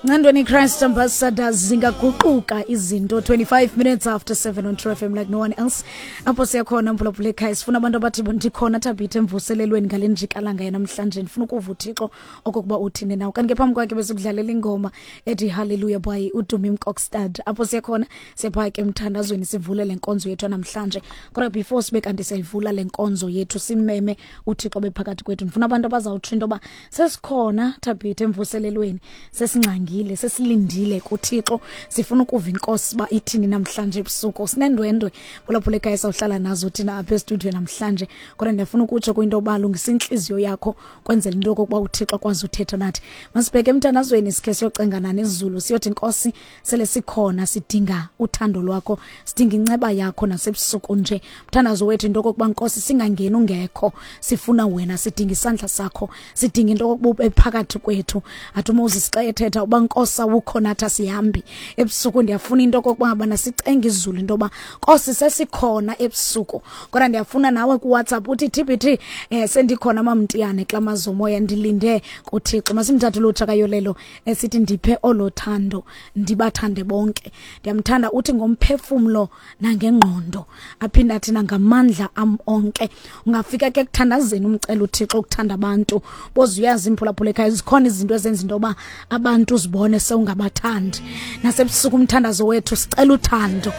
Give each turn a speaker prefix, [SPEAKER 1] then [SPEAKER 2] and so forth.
[SPEAKER 1] Ncandweni Christ Ambassadors, zingaguquka izinto. 25 minutes after 7 on True FM, like no one else. Apho siyakhona, mphulaphula ekhaya, sifuna abantu abathi ndikhona thabithe emvuselelweni ngale njikalanga yanamhlanje, ndifuna ukuva uThixo okokuba uthini nawo. Kanti ke phambi kwakhe besikudlalela ingoma ethi Hallelujah by uDumi Mkokstad. Apho siyakhona, siyapha ke emthandazweni, sivule le nkonzo yethu namhlanje. Kodwa before sibe kanti siyayivula le nkonzo yethu, simeme uThixo bephakathi kwethu, ndifuna abantu abazawutsho into yoba sesikhona thabithe emvuselelweni, sesingxangile, sesilindile kuThixo, sifuna ukuva inkosi uba ithini namhlanje ebusuku. Sinendwendwe phulaphula ekhaya sawuhlala nazo thina apha estudiyo namhlanje, kodwa ndiyafuna ukutsho kwinto yoba lungisa intliziyo yakho kwenzela into yokokuba uThixo akwazi uthetha nathi. Masibheke emthandazweni, sikhe siyocengana nezulu, siyothi Nkosi, sele sikhona, sidinga uthando lwakho, sidinga inceba yakho nasebusuku nje. Mthandazo wethu into okokuba Nkosi, singangeni ungekho, sifuna wena, sidinga isandla sakho, sidinga into okokuba ube phakathi kwethu. Athi uMoses xa ethetha uba Nkosi awukho nathi asihambi ebusuku. Ndiyafuna into okokuba ngabana sicenge izulu into yoba Nkosi sesikhona ebusuku. Kodwa ndiyafuna nawe kuWhatsApp uthi TBT, sendikhona mamntiyane kula mazomoya, ndilinde kuThixo. Masimthathe ulutsha kayolelo esithi ndiphe olo thando, ndibathande bonke. Ndiyamthanda uthi ngomphefumlo nangengqondo, aphinde athi nangamandla am onke. Ungafika ke kuthandazeni umcela uThixo ukuthanda abantu. Boze uyazi imphulaphula ekhaya, zikhona izinto ezenza into yoba abantu uzibone sewungabathandi. Nasebusuku umthandazo wethu sicela uthando.